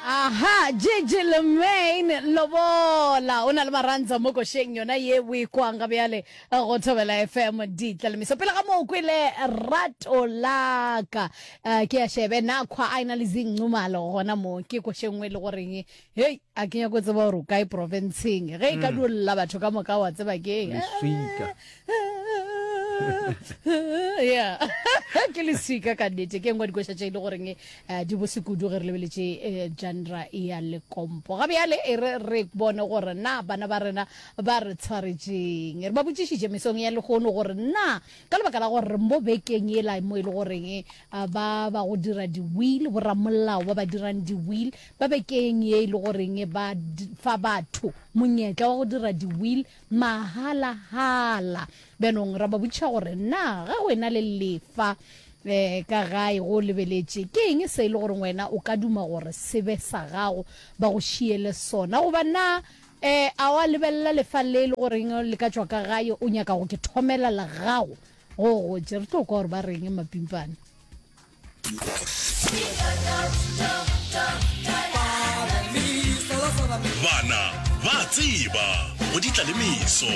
Aha, Gigi Lemaine Lobola o na le marantsa mo košeng yona ye o e kwang ga bjale go Thobela FM ditlalemiso. Pele ga moo kwele rato laka eh, ke ya shebe na khwa a ena le zinqumalo gona mo ke košeng nngwe e le goreng hei a ke nyako tseba gore o kae profenseng ge e ka dio lla batho ka moka wa tseba ke eng. Leswika. Yeah. Ke leswika ka nnete ke nngwe ya dikoša tše e le goreng eh, di bose kudu ge re lebeletše eh, genre ya lekompo. Ga bjale e re re bone gore na bana ba rena ba re tshwaretšeng. Re ba botšišitše mesong ya lehono gore na ka lebaka la gore re mo bekeng yela mo e le goreng eh, ba ba go dira di-will, boramolao ba ba dirang di-will ba bekeng ye e le goreng ba fa batho monyetla wa go dira di-will Mahalahala. Bjanong ra ba botšiša gore, Na ge o ena le lefa um ka gae go lebeletše, ke eng se e le gore wena o ka duma gore se be sa gago, ba go šiele sona? Goba na um a wa lebelela lefa le e le goreng le ka tšwa ka gae, o nyaka go ke thomela la gago go gotše? Re tlo kwa gore ba reng mapimpane. Bana ba tseba go di tla le meso.